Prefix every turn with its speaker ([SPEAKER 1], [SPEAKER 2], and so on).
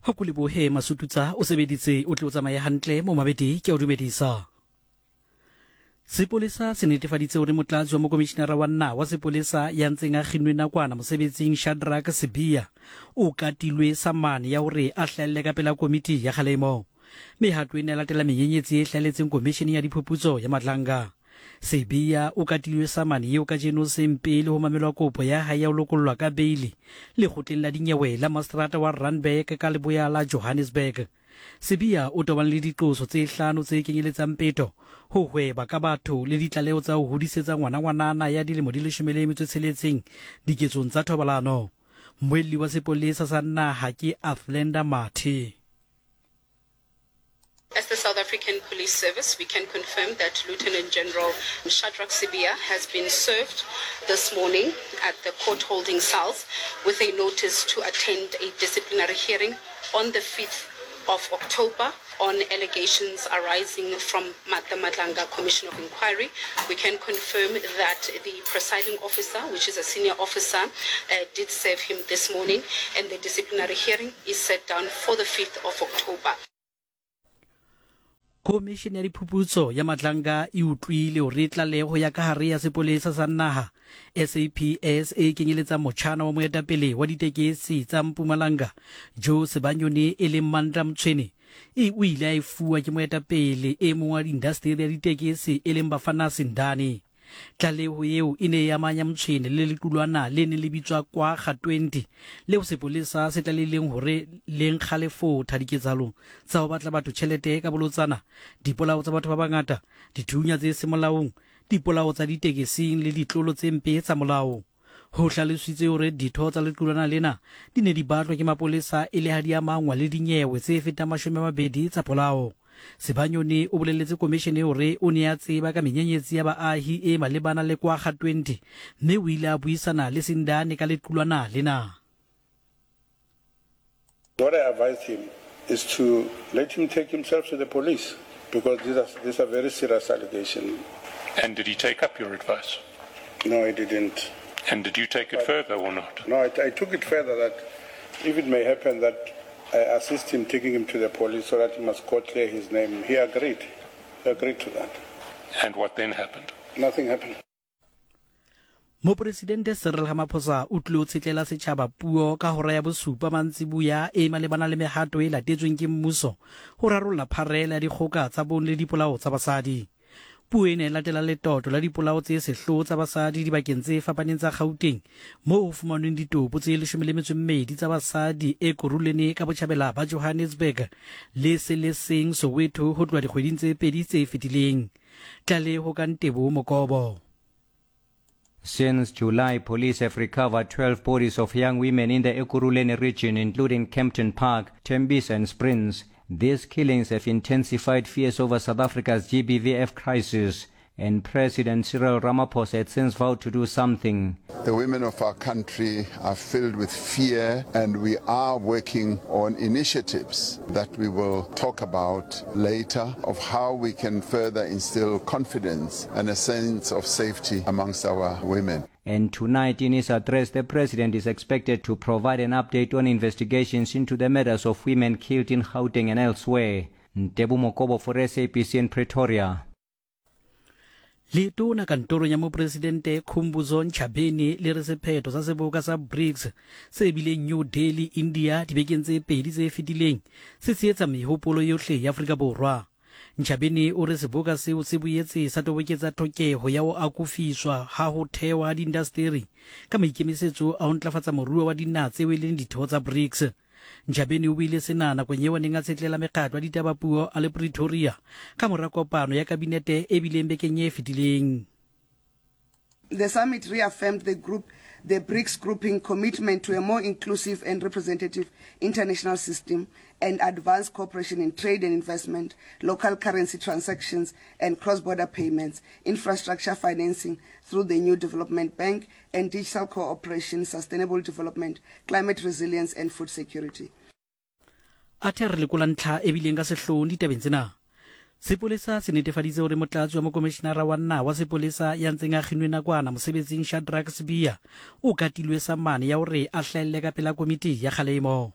[SPEAKER 1] Ho ko lebohe Masututsa o sebeditse o tle o tsamaye hantle mo mabedi ke a o dumedisa. Sepolesa se netefaditse hore motlatsi wa mokomishinara wa naha wa sepolesa ya ntseng a kginnwe nakwana mosebetsing Shadrack Sibiya o katilwe samane ya hore a hlahelle ka pela komiti ya kgalemo. Mehato ena e latela menyenyetsi e hlahelletseng komisheneng ya diphuputso ya Madlanga. Sibiya o katilwe samane eo kajeno seng pele ho mamelwa kopo ya hae ya ho lokollwa ka beili lekgotleng la dinyewe la maseterata wa Randburg ka leboya la Johannesburg. Sibiya o tobane le diqoso tse hlano tse kenyeletsang peto, ho hweba ka batho le ditlaleho tsa ho hodisetsa ngwana ngwanana ya dilemo di 16 diketsong tsa thobalano. Mmuelli wa sepolesa sa naha ke Athlenda Mathe.
[SPEAKER 2] As the South African Police Service, we can confirm that Lieutenant General Shadrack Sibiya has been served this morning at the court holding cells with a notice to attend a disciplinary hearing on the 5th of October on allegations arising from the Madlanga Commission of Inquiry. We can confirm that the presiding officer, which is a senior officer, uh, did serve him this morning, and the disciplinary hearing is set down for the 5th of October.
[SPEAKER 1] Khomišene ya Diphuputso ya Madlanga e utlwile hore tlaleho ya ka hare ya sepolesa sa naha SAPS e kenyeletsang motjhana wa moetapele wa ditekesi tsa Mpumalanga Joe Sebanyoni e leng Mandla Mtshweni e o ile a e fuwa ke moetapele e mong wa indasteri ya ditekesi e leng Bafana Sindane. Tlaleho eo e ne e amanya Mtshweni le lequlwana le neng le bitswa Kwagga 20 leo sepolesa se tlalehileng hore le nkga lefotha diketsahalong tsa ho batla batho tjhelete ka bolotsana, dipolao tsa batho ba bangata, dithunya tse seng molaong, dipolao tsa ditekesing le ditlolo tse mpe tsa molao. Ho hlalositswe hore ditho tsa lequlwana lena di ne di batlwa ke mapolesa e le ha di amangwa le dinyewe tse fetang 20 tsa polao. Sebanyoni o boleletse komishene hore o ne a tseba ka menyenyetsi ya baahi e malebana le Kwagga 20 mme o ile a buisana le Sindane ka lequlwana lena.
[SPEAKER 3] What I advised him is to let him take himself to the police because these are, these are very serious allegations.
[SPEAKER 4] And did he take up your advice?
[SPEAKER 3] No, he didn't.
[SPEAKER 4] And did you take it but, further or not?
[SPEAKER 3] No, I, I took it further that if it may happen that I assist him taking him to the police so that he must go clear his name. He agreed. He agreed to that.
[SPEAKER 4] And what then happened?
[SPEAKER 3] Nothing happened.
[SPEAKER 1] Moporesidente Cyril Ramaphosa o tlilo tshetlela setjhaba puo ka hora ya bosupa mantsiboya e malebana le mehato e latetsweng ke mmuso ho rarolla pharela ya dikgoka tsa bong le dipolao tsa basadi. Puo ena e latela letoto la dipolao tse sehloho tsa basadi dibakeng tse fapaneng tsa Gauteng moo ho fumanweng ditopo tse 12 tsa basadi Ekurhuleni ka botjhabela ba Johannesburg le se le seng Soweto ho tloha dikgweding tse pedi tse fetileng. Tlaleho ka Ntebo Mokobo.
[SPEAKER 5] Since July, police have recovered 12 bodies of young women in the Ekurhuleni region, including Kempton Park, Tembisa and Springs. These killings have intensified fears over South Africa's GBVF crisis, and President Cyril Ramaphosa had since vowed to do something.
[SPEAKER 6] The women of our country are filled with fear, and we are working on initiatives that we will talk about later of how we can further instill confidence and a sense of safety amongst our women.
[SPEAKER 5] And tonight in his address, the president is expected to provide an update on investigations into the murders of women killed in Gauteng and elsewhere. Ntebu Mokobo for SABC in Pretoria.
[SPEAKER 1] Letona kantorong ya Mopresidente Khumbudzo Ntshavheni le re sephetho sa seboka sa BRICS se bileng New Delhi, India dibekeng tse pedi tse fetileng se tshehetsa mehopolo yohle ya Afrika Borwa. Ntshavheni o re seboka seo se boetse sa toboketsa tlhokeho ya ho akofiswa ha ho thewa ha diindasteri ka maikemisetso a ho ntlafatsa moruo wa dinaha tseo e leng ditho tsa BRICS. Ntshavheni o buile sena nakong eo a neng a tshetlela mekgatlo ya ditabapuo a le Pretoria ka mora kopano ya kabinete e bileng bekeng e fetileng.
[SPEAKER 7] The summit reaffirmed the group the BRICS grouping commitment to a more inclusive and representative international system and advanced cooperation in trade and investment, local currency transactions and cross-border payments, infrastructure financing through the new development bank and digital cooperation, sustainable development, climate resilience and food security.
[SPEAKER 1] Athe re lekola ntlha e bileng ka sehloohong ditabeng tsena. Sepolesa se netefaditse hore motlatsi wa mokomishinara wa naha wa sepolesa ya ntseng a kginwe nakwana mosebetsing Shadrack Sibiya o katilwe samane ya hore a hlahelle ka pela komiti ya kgalemo.